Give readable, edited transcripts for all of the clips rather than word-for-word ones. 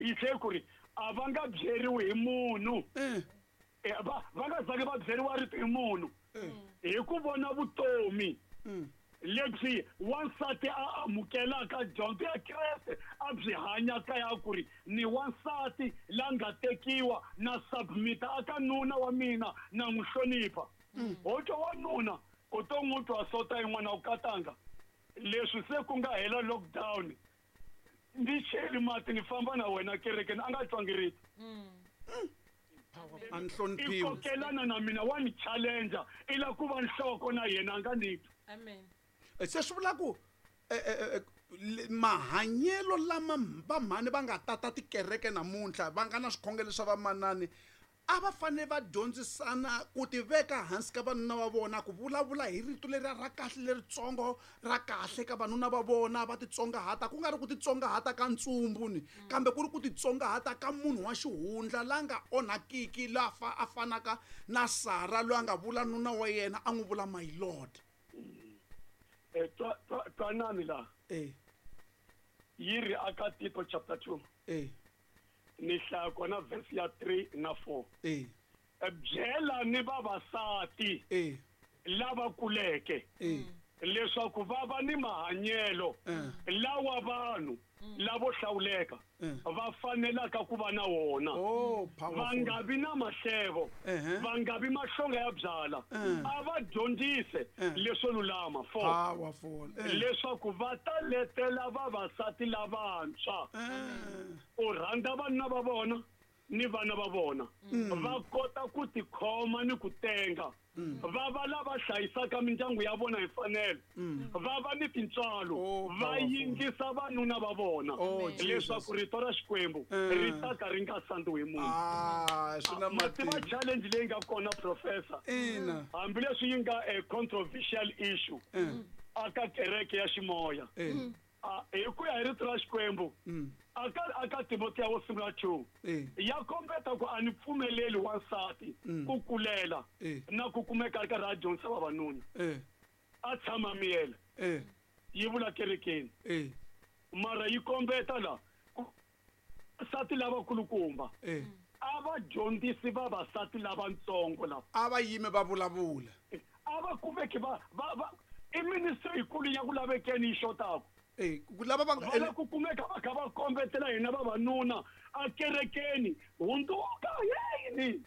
Yi tlhe ku ri a va nga byeriwi hi munhu. Va nga zangi va byeriwa rito hi munhu. Hi ku vona vutomi lebyi wansati a amukelaka dyondzo ya Kreste a byi hanyaka ya ku ri ni wansati la nga tekiwa na submita aka nuna wa mina na n'wi hlonipha. Ho twa wanuna u to n'wi twa sota yin'wana u katanga leswi se ku nga hela lockdown ni cheli mati ni famba na wena kerekeni a nga twangi rito. A ni hloniphiwi. I kokelana na mina wa ni challenger i la ku va nhloko na yena a nga ni twi. Amen. Se swi vula ku mahanyelo lama vamhani va nga tata tikereke namuntlha va nga na swikhongelo swa vamanani a va fanele va dyondzisana ku tiveka hansi ka vanuna va vona, ku vulavula hi rito leriya ra kahle leritsongo ra kahle ka vanuna va vona, va titsongahata, ku nga ri ku titsongahata ka ntsumbu ni, kambe ku ri ku titsongahata ka munhu wa xihundla la nga onhakiki, la a fanaka na Sara loyi a nga vula nuna wa yena a n'wi vula my lord. Twanani la. Yi ri aka Tito chapter 2. Ni hlaya kona verse ya 3 na 4. Byela ni vavasati lava kuleke leswaku va va ni mahanyelo lawa vanhu lavo hlawuleka va fanelaka ku va na wona. Va nga vi na mahlevo, va nga vi mahlonga ya byala, a va dyondzise leswo lulama. 4. Powerful. Leswaku va ta letela vavasati lavantshwa ku rhandza vanuna va vona ni vana va vona, va kota ku tikhoma ni ku tenga, va va lava hlayisaka mindyangu ya vona hi mfanelo, va va ni tintswalo, va yingisa vanuna va vona, leswaku rito ra Xikwembu ri ta ka ri nga sandziwi hi munhu. Swi na Ma tiva matimba. challenge leyi nga kona, Professor, hambileswi yi nga a controversial issue aka kereke ya ximoya. Hi ku ya hi rito ra Xikwembu, aka Timotiya wo sungula 2, ya kombeta ku a ni pfumeleli wansati ku kulela na ku kumeka a ri karhi a dyondzisa vavanuna. A tshama miyela. Yi vula kerekeni. Mara yi kombeta la ku vasati lavakulukumba a va dyondzisi vavasati lavatsongo lava. A va yime va vulavula. A va kumeki va, va, va, i ministry yikulu ya ku lavekeni yi xotaka. Ku lava va nga Va la ku kumeka va kha va kombetela hina vavanuna a kerekeni, hundzuka yini?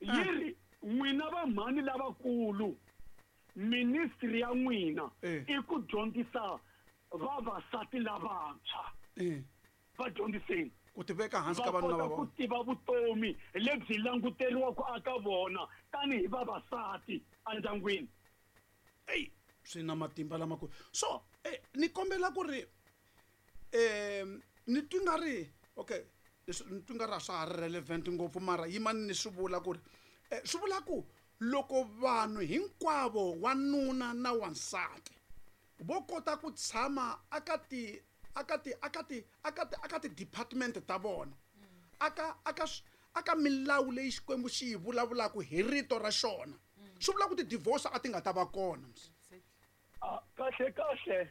Yi ri n'wina vamhani lavakulu, ministry ya n'wina i ku dyondzisa vavasati lavantshwa. Va dyondziseni. Ku tiveka hansi ka Va vanuna kota va ku vona. tiva vutomi lebyi languteriwaka aka vona tanihi vavasati endyangwini. Ey, swi na matimba lamakulu. So, ni kombela ku ri, ni twi nga ri, okay, leswi ni twi nga ri a swa ha ri relevant ngopfu, mara yimani ni swi vula ku ri, swi vula ku loko vanhu hinkwavo wanuna na wansati vo kota ku tshama aka ti, aka ti, aka ti, aka ti, aka ti-department ta vona, aka, aka, aka milawu leyi Xikwembu xi yi vulavulaka hi rito ra xona, swi vula ku ti-divorce a ti nga ta va kona. Kahle kahle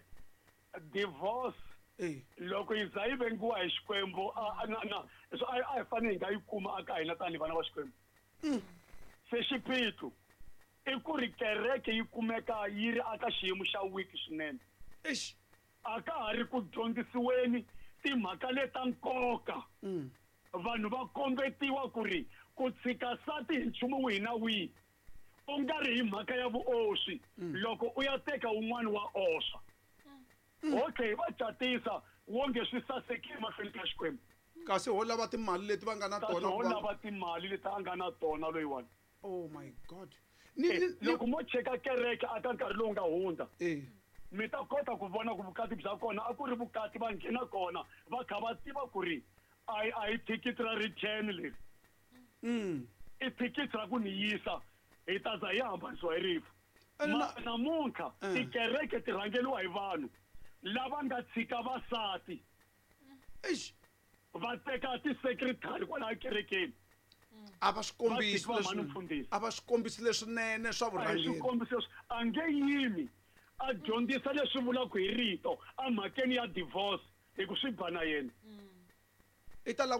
divorce loko yi za yi vengiwa hi Xikwembu, na, na, so a hi fanele hi nga yi kuma aka hina tanihi vana va Xikwembu. Se xiphiqo i ku ri kereke yi kumeka yi ri aka xiyimo xa weak swinene. Eish. A ka ha ri ku dyondzisiweni timhaka leta nkoka. Vanhu va kombetiwa ku ri ku tshika nsati hi nchumu wihi na wihi u nga ri hi mhaka ya vuoswi, loko u ya teka wun'wana wa oswa. Okay, va catisa wonge swi sasekile emahlweni ka Xikwembu. Kasi ho lava timali leti va nga na Kasi tona ho ku va lava timali leti a nga na tona loyiwani. Oh my God. Ni, ni, ni Loko mo cheka kereke aka nkarhi lowu nga hundza, mi ta kota ku vona ku vukati bya kona a ku ri vukati va nghena kona va kha va tiva ku ri a hi thikithi ra return leri. I thikithi ra ku ni yisa hi ta za hi hambanisiwa hi rifu. Ene na Namuntlha tikereke ti rhangeriwa hi vanhu lava nga tshika vasati. Eish. Va teka ti-secretary kwalaha kerekeni. A va swi kombisi Va tshiki va mhani leswi- mfundhisi. a va swi kombisi leswinene swa A hi vurhangeri. swi kombisi leswi. A nge yimi a dyondzisa leswi vulaka hi rito emhakeni ya divorce hi ku swi ba na yena. I ta lava ku